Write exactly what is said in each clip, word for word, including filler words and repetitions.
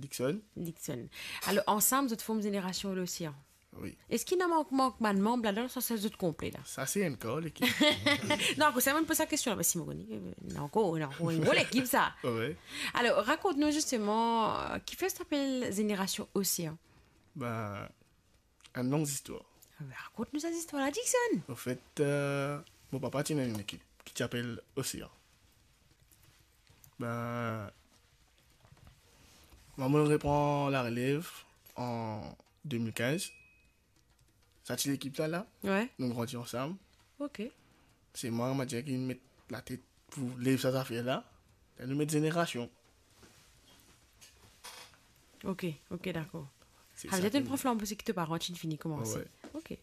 Dickson. Dickson. Alor, ansam, zot form Zénération Océan. Wi. Eski ena mank, mank bann manb ladan, sa, sa zot konple la? Sa, se enn kor lekip. Non, akoz sa, mo poz sa kestion la, parski mo kone, euh, ena ankor, ena ankor enn gro lekip, sa. Wi. Alor, rakont nou zisteman, euh, kifer sa apel Zénération Océan? Ben, enn long zistwar. Ah, ben, rakont nou sa zistwar la, Dickson. Anfet, euh, mo papa ti ena enn lekip ki ti apel Océan. Ben, mwa, mo repran larelev an de mil kinz. Sa ti lekip la, la. Wi. Nou grandi ansam. Ok. Se mwa, mo dir, ki met latet pou lev sa zafer la. La nou met Zénération. Ok, ok, dakor. Se sa ki nou pran flanbo, se ki to paran ti fini koumanse. Wi. Ok.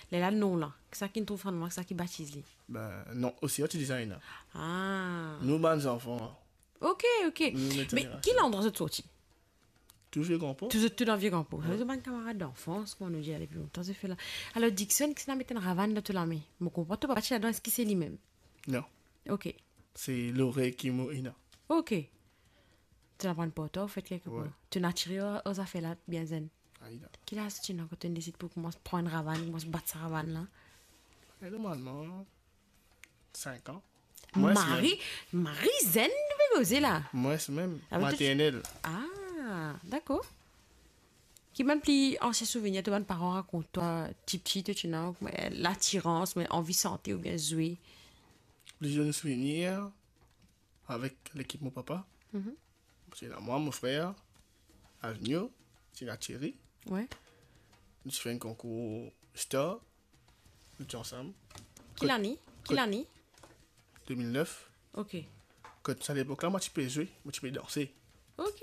Lerla non la, sa ki nou trouv finn, sa ki batiz li? Ben, non, Océan ti deza ena. Ah. Nou bann zanfan. Ok, ok. Nou met Zénération. Me ki landrwa zot sorti? Tou Vie Grand Port. Tou, tou dan Vie Grand Port. Wi. Sa, zot bann kamarad danfans, kouma nou dir, depi lontan, zot fer la. Alor, Dickson, kisannla met enn ravann dan to lame? Mo konpran to papa ti ladan, eski se limem? Non. Ok. Se lore ki mo ena. Ok. To aprann par twa, anfet, kelkepar. Wi. To inn atire ar, ar zafer la bien zenn. Ayi la. Ki laz to ti ena kan to inn desid pou koumans pran ravann, koumans bat sa ravann la? E normalman, sink an. Mwins mem. Mari, mari zenn, nou pe koze la. Mwins mem. Ah, me to ti maternel. Ah, dakor. Ki bann pli ansien souvenir to bann paran rakont twa, tipti, to ti ena, kouma latirans, kouma anvi sante oubien zwe? Pli zenn souvenir avek lekip mo papa. Mhm. Se ena mwa, mo frer, Alvino, ti ena Thierry. Wi. Nou ti fer enn konkour Star. Nou ti ansam. Ki lane? Ki lane? De mil nef. Ok. Kot sa lepok la, mo ti pe zwe, mo ti pe danse. Ok.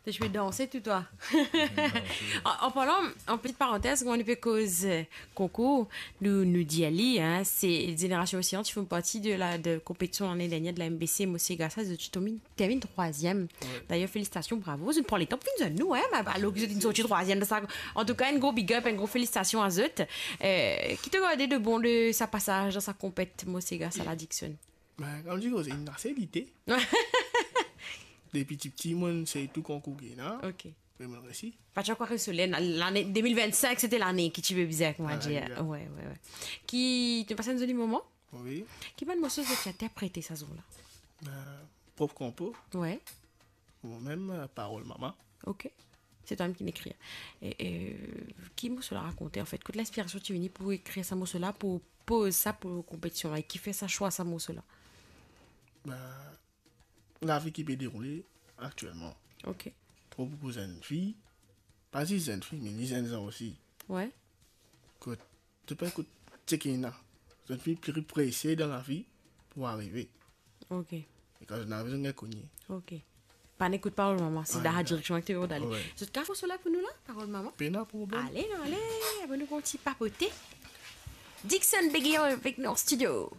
To ti pe danse tou twa. An, an parlan, an peti parantez, kouma nou pe koz, euh, konkour, nou, nou dir li, hein, se Zénération Océan, ti fer parti de la, de konpetision lane dernier de la M B C, mo sega sa, zot ti terminn, terminn trwaziem. Wi. Dayer, felisitasion, bravo, zot inn pran letan pou vinn zwenn nou, hein, me alor ki zot inn sorti trwaziem dan sa. Antouka, enn gro big up, enn gro felisitasion a zot. Euh, ki to garde de bon de sa pasaz dan sa konpet, mo sega sa la, Dickson? Ben, kouma dir, se inn ase lite. Depi tipti, mo inn sey tou konkour ki ena. Ok. Me mo resi. Pa ti ankor resoler, la-, lane de mil vennsink, se ti lane ki ti pe bizin, kouma dir. Ah, wi. Wi, wi, wi. Ki, to pas enn zoli moman? Wi. Ki bann morso zot ti interprete sa zour la? Ben, prop konpo. Wi. Mwa mem, euh, Parol Mama. Ok. Se twa mem ki ekrir. E, e, ki morso la rakont, anfet? Kot linspirasion ti vini pou ekrir sa morso la, pou poz sa pou konpetision la? E kifer sa swa sa morso la? Ben, lavi ki pe deroule aktielman. Ok. Tro boukou zenn fi, pa zis zenn fi, me li zenn zan osi. Wi. Kot, to pe ekout seki ena. Zot finn pli prese dan lavi pou arive. Ok. E kan zot ena rezon, gagn kogne. Ok. Pa ekout Parol Mama, se dan la direksion ki to pe ale. Wi. Zot kas morso la pou nou la, Parol Mama? Pena problem. Ale, nou ale, abonn nou pou ti papote. Dickson Beguillon avek nou an stidio.